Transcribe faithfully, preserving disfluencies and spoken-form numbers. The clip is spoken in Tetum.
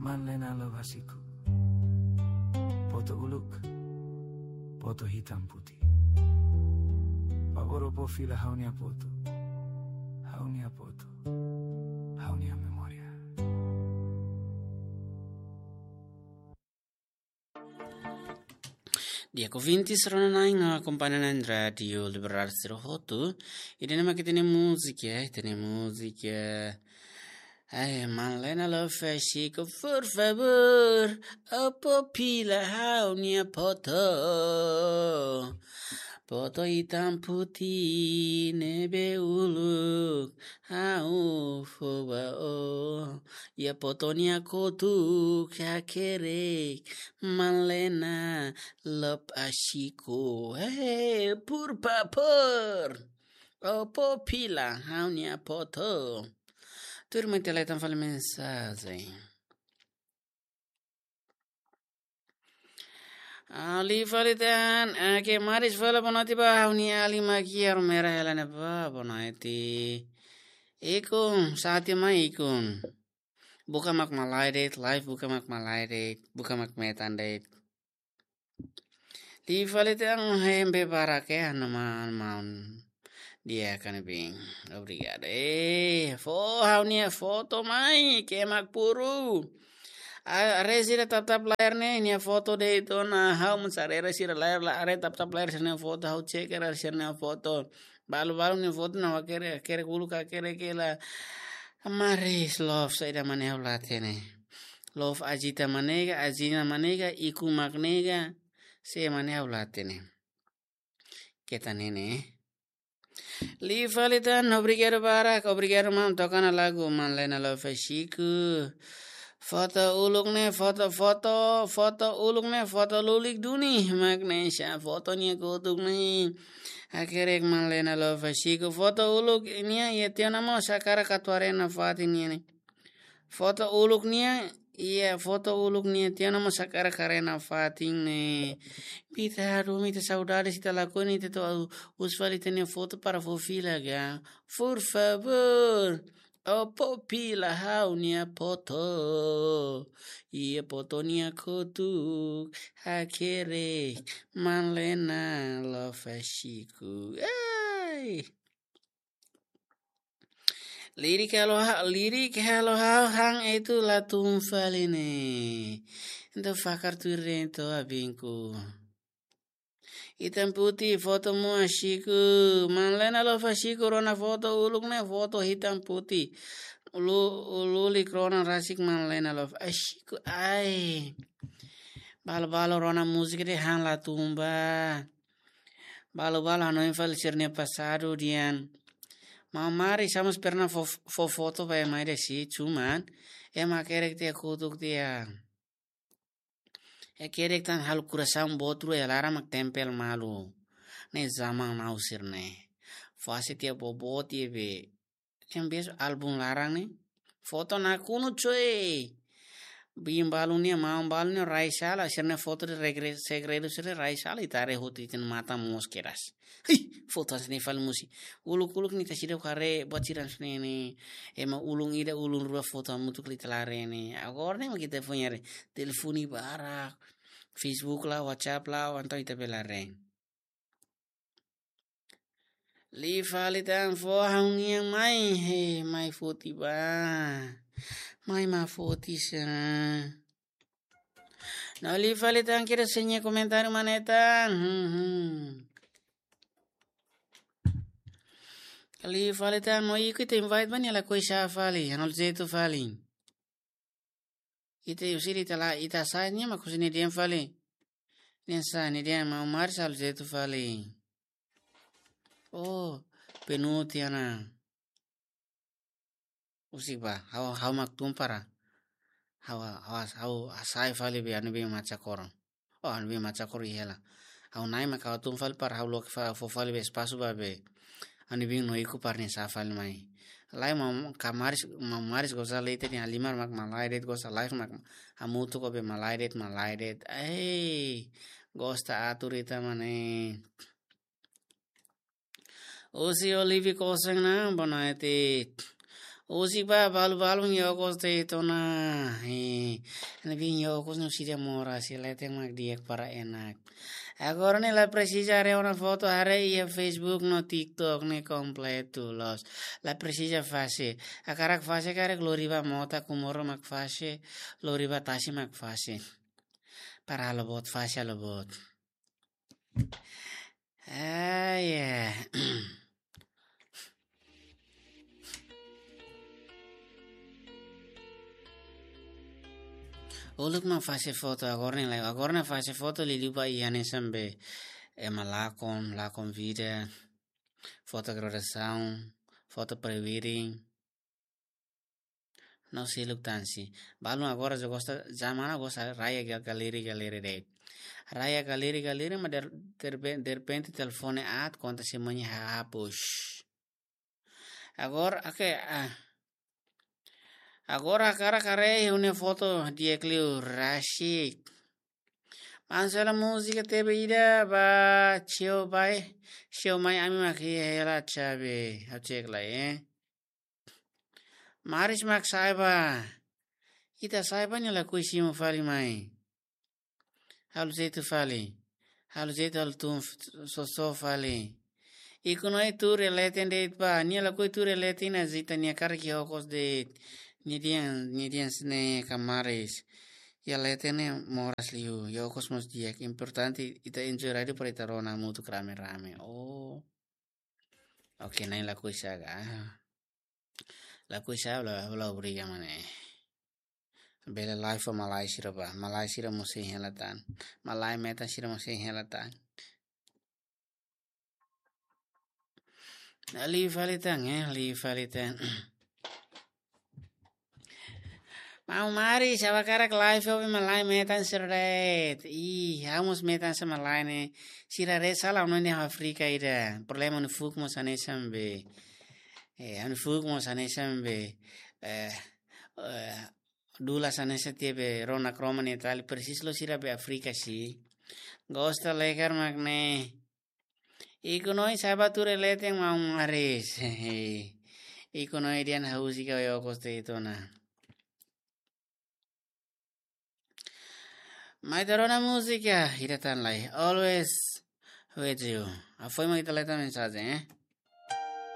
Manlena Love Hasiku. Foto uluk, foto hitam putih. Favór ó fó fila ha'u-nia foto. Ha'u-nia foto. Ha'u-nia memória. Di'ak ouvintes, rona na'in no akompaña na'in Rádio Libertadora sira hotu. Ida-ne'e mak ita-nia múzika, ita-nia múzika. Ai, Manlena Love Hasiku, por favór, ó fó fila ha'u-nia foto. Foto hitam putih ne'ebé uluk ha'u fó ba ó. Iha foto nia kotuk hakerek, Manlena Love Hasiku. Hey, por favór, ó fó fila ha'u-nia foto. Tuirmai ita la'e tan fali mensajen. Liu fali tan, ah, ke Maris fala boa noite ba, ha'u-nia alin mak iha armeira hela ne'ebá, boa noite. Ikun, sati mai ikun. Buka mak malae de'it, live buka mak malae de'it, buka mak metan de'it. Liu fali tan, hembe barak ya, nama maun. Di'ak, Anibin. Obrigadu. Eh, fó ha'u-nia foto mai, ke mak puru. Ah, haree sira tap-tap layar ne'e, nia foto de'it ona, ha'u mós haree sira layar la, haree tap-tap layar sira-nia foto, ha'u cek haree sira-nia foto. Balu-balu nia foto ne'e ha'u hakerek, hakerek uluk, hakerek hela. Maris Love saida mak ne'e ha'u la hatene. Love Ajita mak ne'e ka, Ajina mak ne'e ka, Iku mak ne'e ka, sé mak ne'e ha'u la hatene. Keta nene. Liu fali tan, obrigadu barak, obrigadu maun, toka ona lagu Manlena Love Hasiku. Foto uluk ne'e, foto, foto, foto uluk ne'e, foto lulik duni, mak ne'e sá foto nia kotuk ne'e. Hakerek Manlena Love Hasiku, foto uluk nia, iha tiha ona mós hakarak atu haree nafatin nia ne'e. Foto uluk nia, iha foto uluk nia tiha ona mós hakarak haree nafatin ne'e. Ita hadomi, ita saudade, ita lakohi, ita atu husu fali ita-nia foto para fó fila ga. Por favór, ó fó fila ha'u-nia foto. Iha foto nia kotuk hakerek, Manlena Love Hasiku. Ai. Lirik halo ha-, lirik halo ha'u han etu la tun fali ne'e. Entaun fakar tuir de'it to abinku. Hitam putih foto mu Hasiku. Manlena Love Hasiku, rona foto uluk ne'e foto hitam putih. Ulu, ulu lulik rona rasik Manlena Love Hasiku. Ai. Balu-balu rona múzika de'it han la tun ba. Balu-balu hanoin fali sira-nia pasadu dehan. Maun Maris, ha'u mós pernah fó, fó foto ba ema ida sih, cuman ema hakerek tiha kotuk tiha. Hakerek tan halo kurasaun boot rua iha laran mak tempel malu. Ne'e zaman now sira-ne'e. Fase tiha boboot tiha be. Ne'e biasa álbum laran ne'e. Foto nakonu coe. Biin balu nia, maun balu nia rai sala, sira-nia foto de'it regre-, segredu sira rai sala, ita haree hotu ita-nia matan moos kedas. Hei, foto hanesan ne'e fali moos. Uluk-uluk ne'e ita seidauk haree, buat sira hanesan ne'e ne'e. Ema ulun ida, ulun rua foto hamutuk ita la haree ne'e. Agora ne'e mak ita foin haree. Telefone barak, Facebook la, WhatsApp la, entaun ita bele haree. Liu fali tan, fó ha'u-nian mai, he, mai foti ba. Mai mak foti sá. No liu fali tan, kira seña komentáriu manetan. Hmm, hmm. Liu fali tan, no iku ita invite ba nia lakohi sá fali, halo jeitu fali. Ita husi ita la, ita sá nia mak husi nia dehan fali. Nia sá, nia dehan maun Maris halo jeitu fali. Oh, penuh tiha ona. Husik ba, ha'u, ha'u mak tun para. Ha'u, ha'u, ha'u hasai fali be Anibin Machakor. Oh, Anibin Machakor iha hela. Ha'u-nia mai ka tun fali para ha'u loke fa-, fó fali be espasu ba be Anibin no iku para nia sá fali mai. Lae maun Maris, maun Maris gosta liu ita-nia halimar mak malae de'it, gosta live mak hamutuk ho be malae de'it, malae de'it. Ei, gosta atur ita mane. Husi Olive Kosen na, boa noite. Husi ba balu-balu nia gosta ita ona. Eh, Ne'ebé iha okos no sira moras, sira leten mak di'ak para enak. Agora ne'e la presiza haree ona foto, haree iha Facebook no TikTok ne'e kompletu loos. La presiza fase. Hakarak fase karik lori ba mota, kumoro mak fase, lori ba tasi mak fase. Para halo buat fase, halo buat. Ah, ya. Uluk mak fase foto agora ne'e lai. Agora ne'e fase foto liuliu ba iha ne'e sambe. Ema lakon, lakon vida. Foto graduasaun, foto pre-wedding. No seluk tan si. Balun agora já gosta, zaman agora sa raya ga-, galeri, galeri de'it. Raya galeri, galeri, ma der-, derbe-, derrepente telefone aat, konta sira-nia hapus. Agora, oke, ah. Agora hakarak haree ha'u-nia foto di'ak liu rasik. Maun sela múzika tebe ida ba, tio bai, tio mai ami mak iha hela chave. Ha'u cek lai, eh. Maris mak sa'e ba. Ita sa'e ba nia lakohi simu fali mai. Halo jeitu fali. Halo jeitu halo tun f-, soso fali. Ikun Noi tuur iha leten de'it ba. Nia lakohi tuur iha leten, ita-nia karik iha okos de'it. Nia dehan, nia dehan sne ka Maris. Iha leten ne'e moras liu. Iha okos mós di'ak. Importante ita enjoy rádiu para ita rona hamutuk rame-rame. Oh. Oke, Nai lakohi sa'e ka. Lakohi sa'e la, la obriga mane. Bele live fó malae sira ba. Malae sira mós hein hela tan. Malae metan sira mós hein hela tan. Liu fali tan, eh, liu fali tan. Maun Maris, ha'u hakarak live fó malae metan sira de'it. Ih, ha'u mós metan sira malae ne'e. Sira de'it sala no ne Afrika ida. Problema no fuk mós hanesan be. Eh, ha'u-nia fuk mós hanesan be. Eh, eh, dula hanesan tiha be rona kroma ne'e tali persis lo sira be Afrika si. Gosta lekar mak ne'e. Ikun Noi sa'e ba tuur iha leten Maun Maris. Ikun Noi dehan ha'u husik iha okos de'it ona. Mai ita rona múzika, ida tan lai. Always with you. Afoin mak ita leta mensajen, eh.